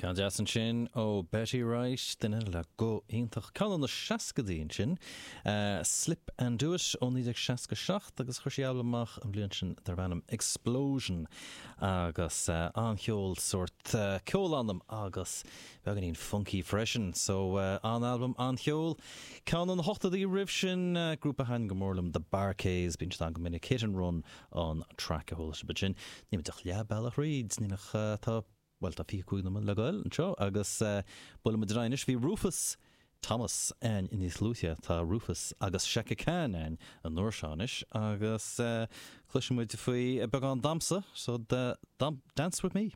Ceann deas ansin ó Betty Wright, duine le guth iontach. Ceann ó na seascadaí ansin, Slip and Do It ó 1967 agus chuir sí albam amach an bhliain sin darb ainm Explosion agus an-cheol, sórt ceol anam agus beagáinín funky freisin. So an-albam, an-cheol. Ceann ó na hochtóidí roimh sin, grúpa a thaitin go mór liom, The Bar-Kays, bíonn siad ann go minic, Hit and Run an track a chuala sibh ansin. Níl muid ach leath bealach thríd, níl ach tá Bhuel, tá 25 nóiméad le goil anseo agus buailfidh muid ar aghaidh anois. Bhí Rufus Thomas ann níos luaithe, tá Rufus agus Chaka Khan ann an uair seo anois agus cloisfidh muid faoi beagán damhsa, so Dance With Me.